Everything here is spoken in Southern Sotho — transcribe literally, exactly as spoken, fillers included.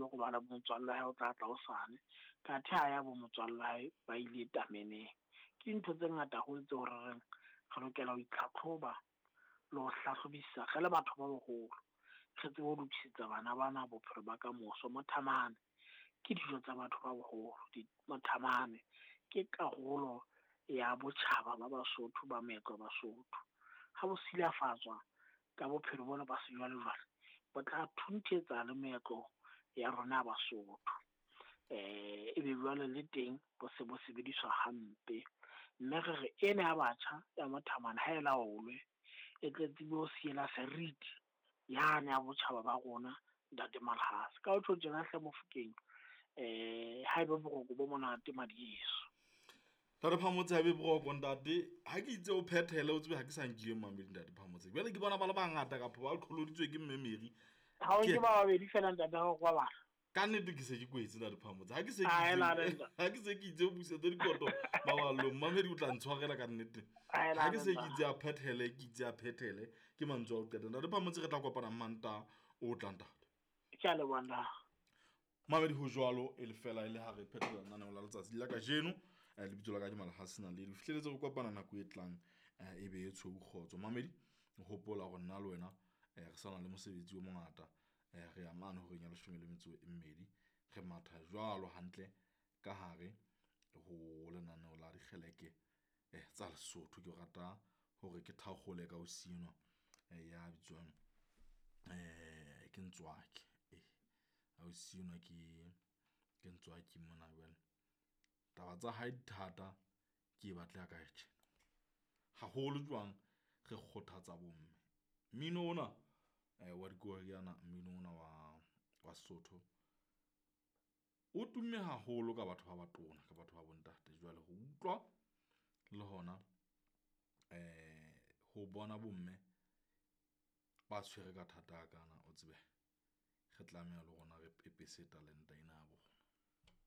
lo robala bo motswalle hae o tla tla hosane. Kathe ha ya bo motswalle hae ba ile tameneng. Ke dintho tse ngata haholo tseo re reng re lokela ho itlhatlhoba le ho hlahlobisisa re le batho ba baholo. Re tsebe ho lokisetsa bana bana bophelo ba kamoso. Mothamane ke dijo tsa batho ba baholo. Mothamane ke karolo ya botjhaba ba Basotho ba meetlo ya Basotho. Ha bo silafatswa ka bophelo bona ba sejwalejwale, bo tla thunthetsa le meetlo ya rona ya Basotho. Eh ebe jwale le teng bo se bo sebediswa hampe. Mme re re ena ya batjha ya mothamane ha e laolwe, e tle tsebe ho siela seriti yane ya botjhaba ba rona ntate Malhase. Ka ho tjho tjena hle Mofokeng, eh ha ebe boroko bo monate madieso. Ntate Phamotse ha ebe boroko ntate, ha ke itse o phethele o tsebe ha ke sa nkiwe mamedi ntate Phamotse. Jwale ke bona ba le bangata kapa ba qholoditswe ke mme Mary. Ha o ke ba babedi fela ntate ha o kwabala. Ka nnete ke se ke kwetse ntate Phamotse. Ha ke se ke itse, ha ke se ke itse o busetse dikoto maballong, mamedi o tla ntshwarela ka nnete. Ha ke se ke itse a phethele, ke itse a phethele ke mantswe a o qeta. Ntate Phamotse re tla kopana Mantaha o tlang ntate. Ke a leboha nna. Mamedi ho jwalo e le fela e le ha re phethela lenaneo la letsatsi la kajeno. Lebitso la ka ke Malhase Naledi. Ho fihleletse re kopana nako e tlang e be e tshweu kgotso. Mamedi hopola hore nna le wena re sana le mosebetsi o mongata. Re ya mane horeng ya leshome le metso e mmedi. Re matha jwalo hantle ka hare ho lenaneo la dikgeleke tsa Lesotho. Ke rata hore ke thakgole ka ho sinwa ya bitswang eh ke Ntswaki. Eh ha o sinwa ke ke Ntswaki mona jwale. Taba tsa hae di thata ke e batleha ka tjena. Haholo jwang re kgothatsa bomme. Mmino ona wa dikoriana, mmino ona wa wa Sesotho o tumme haholo ka batho ba batona, ka batho ba bontate. Jwale ho utlwa le hona eh ho bona bomme ba tshwere ka thata kana o tsebe re tlameha le rona re pepese talenta ena ya bona.